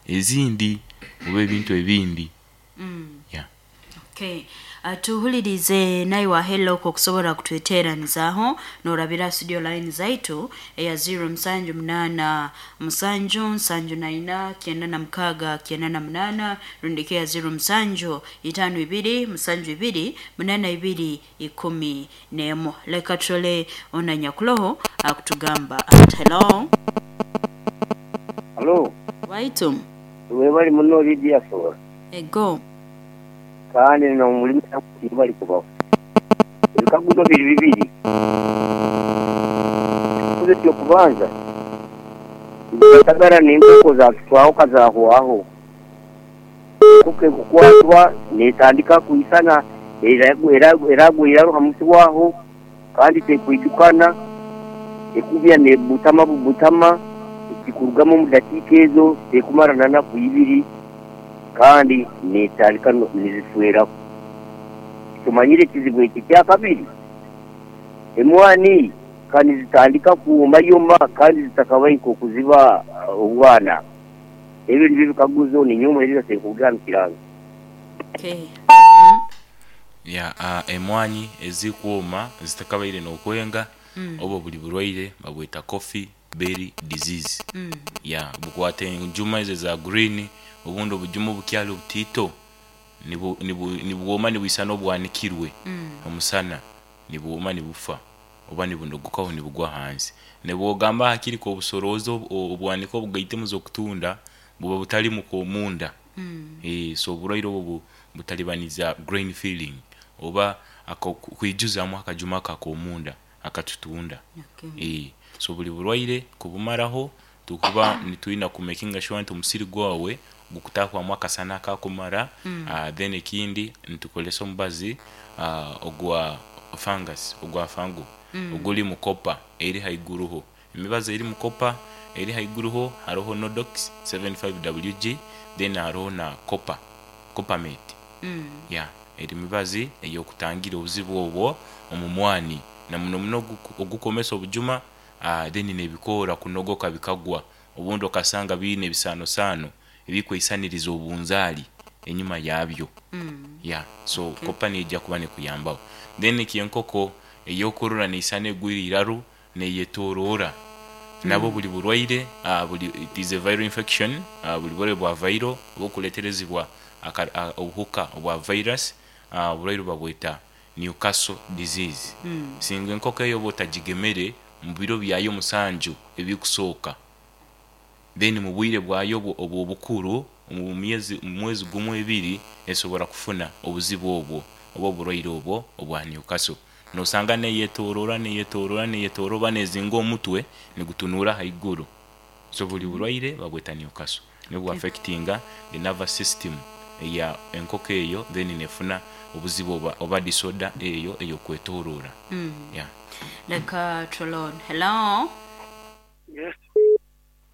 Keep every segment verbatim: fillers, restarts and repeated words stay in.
Ezindi oba ebintu ebindi. Mm. Yeah. Okay. Uh, tuhulirize naiwe hello okusobora kutweteranizaaho norabira studio line zaitu eya zero musanju munana musanju nsanju naina kyenda na mukaaga kyenda na munana, rundi eya zero musanju itano ibiri musanju ibiri munana ibiri ikumi nemu. Leka turole ona nyakuloho akutugamba ati hello. Halo, waitu. Webali muno Lydia Sora. Ego. Kandi n'omulimi bali kubaho. Ebikaguzo biri bibiri. Ekikaguzo eky'okubanza, endagara n'enkoko zakitwaho kazahwaho. Enkoko ekukwatwa netandika kwisana eragwa iraru ha muti waho kandi tekwijukana, ekubya nebutama bubutama, ekikurugamu omu dakiika ezo tekumara na naku ibiri kandi netandika nizifweraho. Tumanyire ekizibu eki. Ekyakabiri, emwani kandi zitandika kuyomayoma kandi zitakabaye nk'okuziba obwana. Ebyo nibyo bikaguzo ninyowe muhereza senkubwira kiranga. Okay. Ya, uh, emwanyi ezikwoma zitakabaire n'okwenga, Mm. obo buli burwaire babweta coffee berry disease. Mm. Ya, bukwata enjuma ezo eza green, obundi obujuma obukyali obutiito nibu- nibu- nibwoma nibwisana obwanikirwe Mm. omusana, nibwoma nibufa oba nibunogokaho nibugwa hansi. Nibwogamba hakiri k'obusoroza obwanika obugaitemu z'okutunda buba butalimu k'omunda. Mm. Eh, so oburwaire obwo bu- butalibaniza grain filling oba ako kwijuzamu akajuma ako ak'omunda akatutunda. Okay. Eh, so buli burwaire kubumaraho tukuba nitwina kumakinga sure nti omusiri gwawe gukutahwamu akasana akakumara. Mm. uh, then ekindi nitukolesa omubazi uh, ogwa fungus, ogwa fango Mm. oguli mu copper eri haiguruho. Emibazi eri mu copper eri haiguruho haroho Nodox seventy-five W G, then haroho na copper coppermate. Mm. Ya, eri mibazi ey'okutangira obuzibu obwo omu mwani na muno muno ogu- ogukomesa obujuma, uh, then nebikoora kunogoka bikagwa, obundi okasanga biine ebisaanosaano ebikweisaniriza obunzaali enyuma yabyo. Mm. Ya, so Okay. kopa neija kuba nekuyambaho. Then ekyenkoko ey'okurora neisana egwire iraru neyetorora nabo Mm. buli burwaire, uh, buli it is a viral infection, uh, buli burwaire bwa viral obukuleterezibwa aka- uh, obuhuka obwa virus, uh, oburwaire babweta Newcastle disease. Mm. Singa enkoko eyo oba otagigemere mu biro byayo musanju ebikusooka, then mu bwire bwayo obwo obw'obukuru mu myezi mu mwezi gumu ebiri esobora kufuna obuzibu obwo oba oburwaire obwo obwa Newcastle. Nosanga neyetorora neyetorora neyetorora oba nezinga omutwe nigutunuura haiguru. So buli burwaire babweta Newcastle, nibwo Okay. affectinga the nervous system eya enkoko eyo, then nefuna obuzibu oba, oba disorder eyo ey'okwetorora. Mm. Yeah. Leka turole hello. Yes,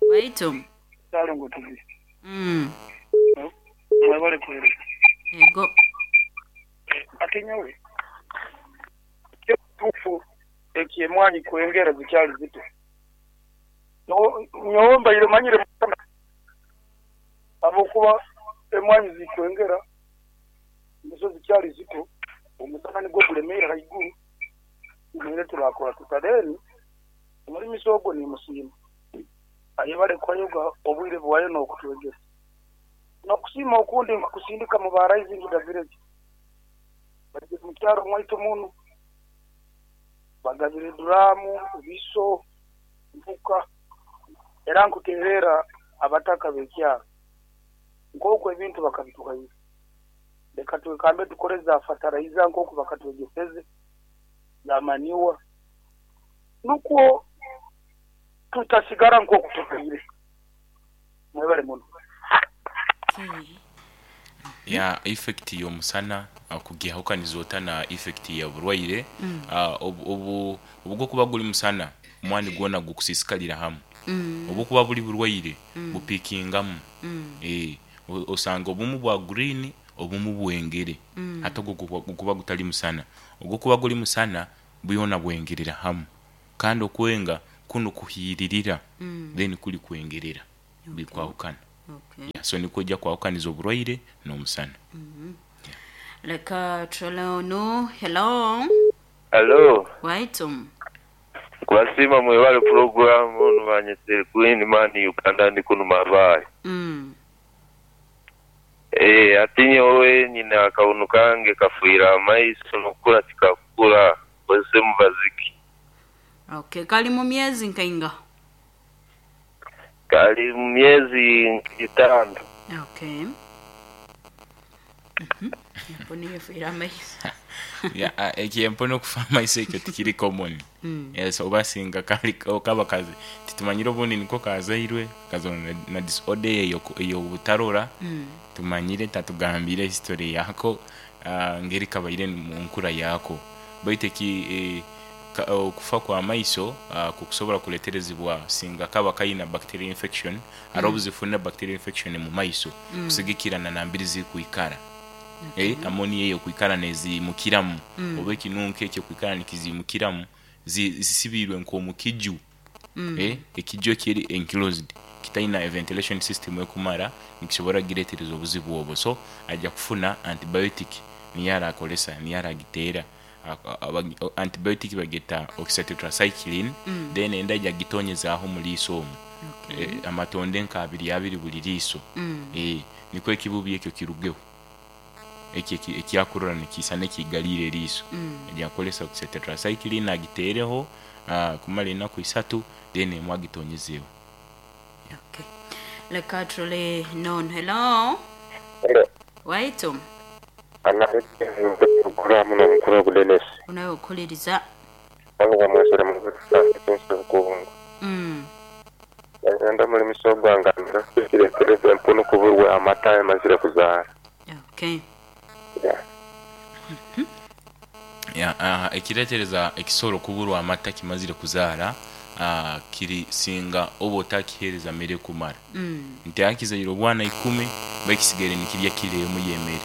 waitu. Ssalongo Tubi. Mm. Mwebale kuweereza. Ego. Ate nyowe kituufu ekyemwanyi kwengera zikyali zito. Nyowe nyowe mbaire manyire habwokuba emwanyi zikwengera nizo zikyali zito, omusana nigwo gulemeire haiguru, tumanyire turakora tuta. Then omulimisi ogwo nimusiima ayebale kwayoga obwire bwayo n'okutwegesa. N'okusiima okundi nkukusindika mu ba Rising the Village, bageze mu kyaro mwaitu muno bagabire duramu, biso, nfuka, era nkuterera abataka b'ekyaro nk'oku ebintu bakabituhaire. Leka twekambe tukore za fertilizer nk'oku bakatwegeseze za manure, nukwo tutasigara nk'oku tukaire. Mwebale muno. Okay. Ya, effect y'omusana uh, kugihakaniza ota na effect ya burwaire? Mm. uh, obu obu obwokuba guli musana, omwani gwona gukusisikalira hamu. Mm. Obukuba buli burwaire Mm. bupikingamu. Mm. Eh, o- osanga obumu bwa green, obumu bwengere. Mm. Ate ogwo gukuba gukuba gutali musana, ogukuba guli musana bwona bwengerera hamu, kandi okwenga kuno kuhiiririra. Mm. Then kuli kwengerera Okay. bikwahukana. Okay. Yeah, so nikwo ojja kwahukaniza oburwaire n'omusana. Leka turole ono. Hello. Hello, Waitu. kubasiima mwebale puroguramu nubanyesere Queen Man Uganda ndi kuno Mabaale. Mm. Eh, ati nyowe nyina akawunu kange kafuira amaiso nokukura tikakukura kozese mubaziki. Okay, kali mu myezi nkainga. Kali mu myezi etaano. Okay. Mhm. Empunu yefiira amaiso. Yeah, ah, ekyempunu okufa amaiso ekyo tikiri common. Mm. Yes, oba singa kali kaba kazi titumanyire obundi niko kazairwe kazona na, na disorder eyo ey'obutarora. Mm. Tumanyire tatugambire history yako uh, ngeri kabaire mu nkura yako, baitu eki eh, ka- okufa kwa maiso uh, kukusobola kuleterezebwa singa kaba kayina bacterial infection. Ari obuzifuna bacterial infection mu maiso kusigikirana nambiri zikuikara. Eh, amoni eyo kwikara nezimukiramu mm. oba ekinunko ekyo kwikara nikizimukiramu zi- zisibirwe nk'omukiju. mm. eh, ekiju ekiri enclosed kitaina ventilation system ekumara nikisobora giretereza obuzibu obwo. So ajja kufuna antibiotic niyo arakolesa, niyo aragiteera. A- a- antibiotic bageta oxytetracycline. mm. Then enda ajja gitonyezaaho mu liiso omwo. Okay. Eh, amatonde nka abiri abiri buli liiso. Mm. Eh, nikwo ekibubi ekyo kirugeho eki eki- ekyakurora nikiisa nekigalire eriiso. Mm. Ajakolesa oxytetracycline agiteereho uh, kumara enaku isatu, then emwe agitonyezeeho. Okay. Leka turole non. Hello. Waitu. Programu n'omukuru Dennis. Unawe okuliriza. Aluga mwesere mu kubungu. Mm. Enda muri misogo ngambira kiretereza empunu kuburwa amata yamazire kuzaara. Okay. Yeah. Ya, uh, ekiretereza ekisoro kuburwa amata kimazire kuzaara uh, kiri singa oba otakihereza mere kumara. Mm. Nti akizaire obwana ikumi bakisigaire nikirya kiro emu y'emere.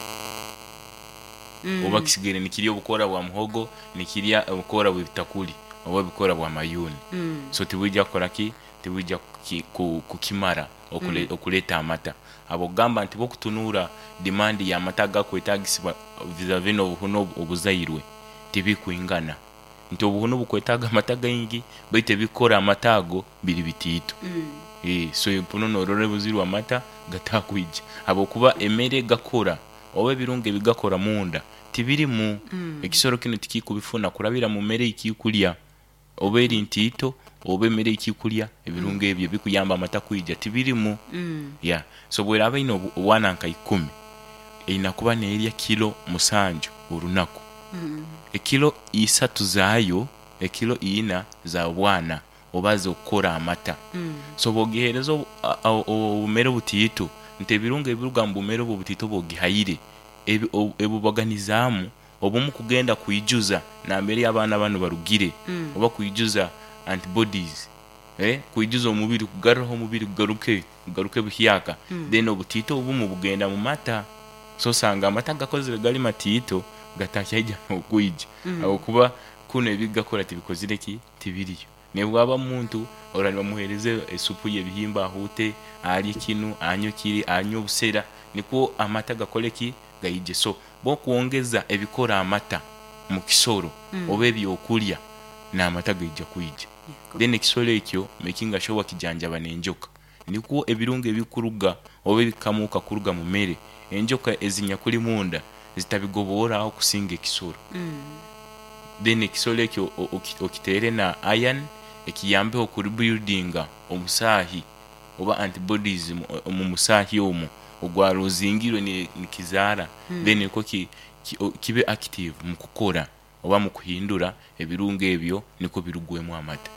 Mm. Oba kisigaire nikirya obukora bwa muhogo, nikirya obukora bw'ebitakuli oba obukora bwa mayuni. Mm. So tibwijja kukora ki, tibwijja kuki- ku- kukimara okule, mm. okuleeta amata. Abo gamba nti bokutunuura demand y'amata agakwetagisibwa vis-a-vis n'obuhunu obu- obuzairwe tibikwingana, nti obuhunu bukwetaaga amata gaingi baitu ebikora amata ago biri bitiito. Mm. Eh, so empunu norora ebuzirwe amata gatakwija habwokuba emere gakora oba ebirungo ebigakora munda tibirimu. Mm. Ekisoro kino tikikubifuna kurabira mu mere ekikulya oba eri ntiito oba emere ekikulya ebirungo ebyo bikuyamba amata kwija tibirimu. Mm. Yeah. So bweraba ine obu- obwana nka ikumi erina kuba neerya kilo musanju orunaku. Mm. Ekilo isatu zaayo, ekilo ina za bwana oba zokukora amata. Mm. So bwogihereza obu- a- a- obumere butiito nti ebirungo ebiruga mu bumere obwo butiito bwogihaire ebi- obu- ebubaganizaamu obumu kugenda kwijuza nambere abaana banu barugire. Mm. Oba kwijuza antibodies, eh, kwijuza omubiri, kugaruraho omubiri kugaruke kugaruke buhyaka. Mm. Then obutiito obumu bugenda mu mata, so osanga amata gakozire gali matiito gatakyaija n'okwija. Mm. Habwokuba kuno ebigakora tibikozire ki, tibiriyo. Nebwaba muntu ora nibamuhereza esupu y'ebihimba ahute alye kinu anywe kiri anywe obusera nikwo amata gakole ki, gaije. So bokwongeza ebikora amata mu kisoro Mm. oba ebyokulya n'amata gaija kwija. Yego. Then ekisoro ekyo making sure wakijanjaba n'enjoka nikwo ebirungo ebikuruga oba ebikamuka kuruga mu mere enjoka ezinyakuli munda zitabigoboraho kusinga ekisoro. Mm. Then ekisoro ekyo o- oki- okiteere na iron ekiyambeho kurebuildinga omusaahi oba antibodies mu- mu musaahi omwo ogwarozingirwe ni- nikizaara. Mm. Then niko ki, ki, o- kibe active mu kukora oba mu kuhindura ebirungo ebyo niko birugwemu amata.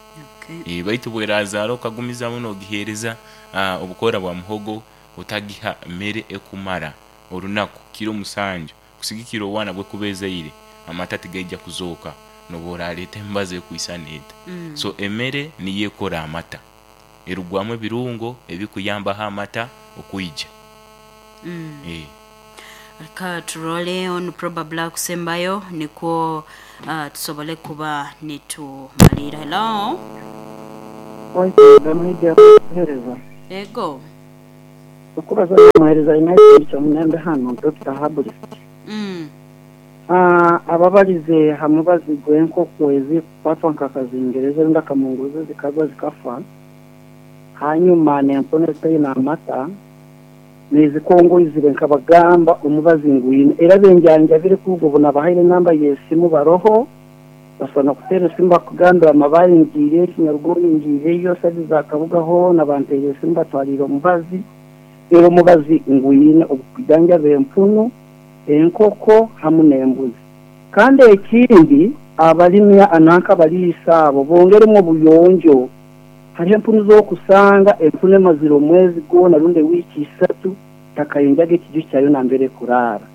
Okay. E, baitu bwerazaara okagumizamu nogihereza uh, obukora bwa muhogo otagiha mere ekumara orunaku kiro musanju kusigikira obwana bwekubezaire amata tigaija kuzooka noba oraleeta embazo ekwisana eta. Mm. So emere niyo ekora amata erugwamu ebirungo ebikuyambaho amata okwija. Mm. Eh. Leka turole ono probably akusembayo nikwo uh, tusobole kuba nitumalira. Hello. Waitu, media kuhereza. Ego. Okubaza muhereza United kyamunembe hano Doctor Herbalist. Mm. Ah, ababalize hamubazi gw'enkoko ezikukwatwa nkakazingereza rundi akamunguzi zikagwa zikafa, hanyuma n'empunu ezitaine amata nezikongoizire nkabagamba omubazi ngwine era benjanjabire kuruga obu nabahaire enamba y'esimu baroho basobola kuteera esimu bakugambira amabaare ngiire Kinyaruguru ngiireyo sabi za Kabuga hoona banteire esimu batwaliire omubazi era omubazi ngwine ogukujanjaba empunu, enkoko hamu n'embuzi. Kandi ekindi abalimi ananka abaliisa abo bongeremu obuyonjo. Hariho empunu z'okusanga empunu emazire omwezi gwona rundi ewiiki isatu takayonjaga ekiju kyayo nambere kuraara,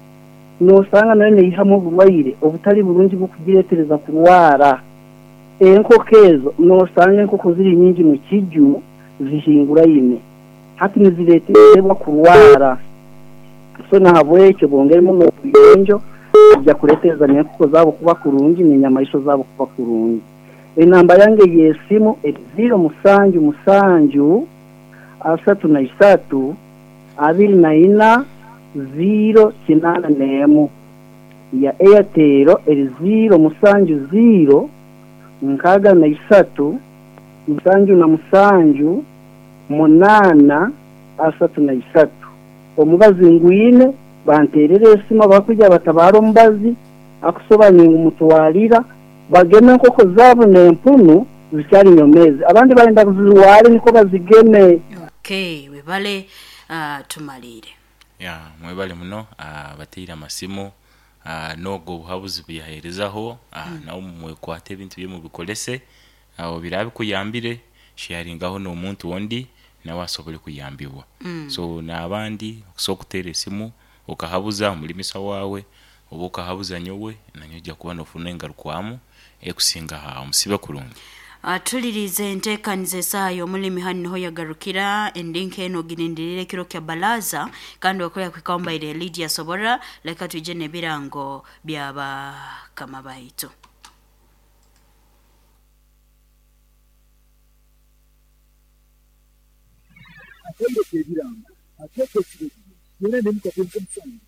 nosanga nayo neihamu oburwaire obutali burungi bukugireetereza kurwara. Enkoko ezo nosanga enkoko ziri nyingi mu kiju zihinguraine hati nizireeterwa kurwara. So nahabwekyo bongeremu n'obuyonjo bijja kureetereza n'enkoko zaabo kuba kurungi n'enyamaisho zaabo kuba kurungi. Enamba yange y'esimu eri ziro musanju musanju asatu na isatu abiri na ina ziro kinana n'emu. Ya Airtel eri ziro musanju ziro nkaaga na isatu musanju na musanju munana asatu na isatu. Omubazi ngwine banterere esimu abakuja batabara omubazi akusoba ningumutwalira bageme enkoko zaabo n'empunu zikyali nyomezi, abandi barenda kuzirware niko bazigeme. Okay, webale uh, tumalire. Ya mwebale muno uh, bateire amasimu uh, nogo obuhabuzi buyaherezaho uh, mm. nawe mwekwate ebintu bye mubikolese aho uh, birabikuyambire sharingaho n'omuntu ondi nawe asobole kuyambibwa. Mm. So n'abandi okusobola okuteera esimu okahabuza omulimisa waawe oba okahabuza nyowe nanyo ojja kuba nofuna engarukwamu ekusinga ha omusibe kurungi. Atulirize enteekaniza esaaha y'omulimi hanu niho yagarukira endinka eno ogirindirire ekiro kya balaza kandi wakoya kwikawambaire Lydia Sobora. Leka twije n'ebirango by'abakama baitu. Ateeka ebirango ateeka ekiragiro yona nemukatenka omusango.